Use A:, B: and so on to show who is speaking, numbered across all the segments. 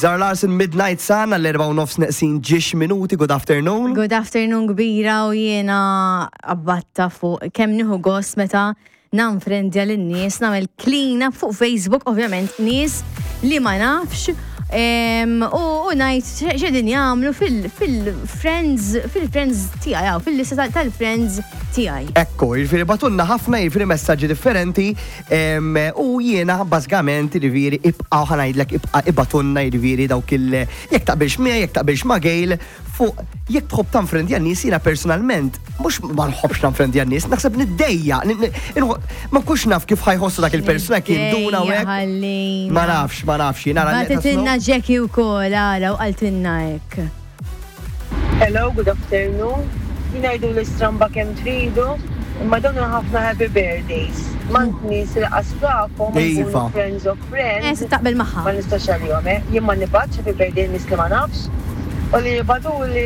A: Zara Larson, Midnight Sun, għall-4 u nofs neqsin ġiex minuti, good afternoon.
B: Good afternoon kbira u jiena abbatta fuq kemm nieħu gost meta nanfrendja lin-nies, nagħmel clean up fuq Facebook, ovvjament nies li ma nafx u ngħid x'qegħdin jagħmlu fil-friends fil-friends tiegħi hawn fil-lista tal-friends tiegħi.
A: Ekku, jiġifieri batunna ħafna jiġifieri messaġġi differenti u jiena bażikament jiġifieri ibqa' ħa ngħidlek ibqa' ibatunna jiġifieri dawk il jekk taqbilx miegħi, jekk taqbilx ma' Gail fuq jekk tħobb tanfrendja n-nies jiena personalment mhux ma nħobbx tanfrendja n-nies, naħseb niddejja, ma nkunx naf kif ħajħossu dak il-persuna jekk jinduna u hekk. Ma nafx, ma nafx, jiena
B: nara. Bagħtitilna Jackie wkoll ara u qaltilna hekk.
C: Hello, good afternoon. Jien għiduli stramba kemm tridu, imma dawn ħafna happy birthdays. M'għand nies li qas tafhom u jkunu friends of friends.
B: Eh, se taqbel magħha.
C: Ma nistax għalihom, eh. Jien ma nibgħatx happy birthday nies li ma nafx. U li jibgħatuli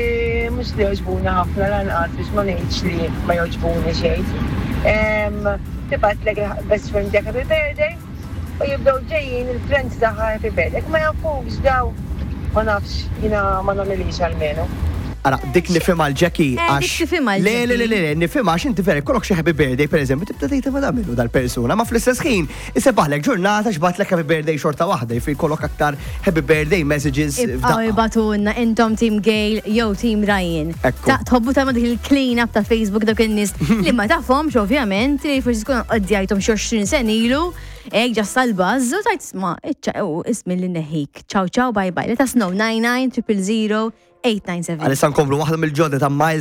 C: mhux li jogħġbuni ħafna lanqas biex ma ngħidx li ma jogħġbuni xejn. Tibgħatlek il-best friend tiegħek happy birthday u jibdew ġejjin il-friends tagħha happy birthday. Jekk ma jafukx daw, ma nafx, jiena ma nagħmilhiex almenu.
A: Ara, dik nifhimha l-Jackie
B: Eh, dik
A: għax.
B: tifhimha
A: Le, le, le,
B: l-Jackie.
A: le, le, nifhimha għax inti vera jkollok xi happy birthday pereżempju tibda tgħid ma min hu dal-persuna, ma fl-istess ħin Isebaħlek ġurnata x'batlek happy birthday xorta waħda, jiġifieri jkollok aktar happy birthday messages
B: Ibqgħu
A: f'daqqa.
B: ibgħatulna intom Team Gail jew Team Ryan.
A: Ekku.
B: Ta' tħobbu tagħmlu dik il-clean up ta' Facebook dawk in-nies li ma tafhomx ovvjament li forsi tkun qoddjajthom xi 20 sena ilu, hekk ġast tal-buzz u tgħid isma' iċċa u ismi li neħik. Ciao ciao bye bye. Let us know 99 000 897.
A: Għalissa nkomplu waħda mill-ġodda ta' Miles.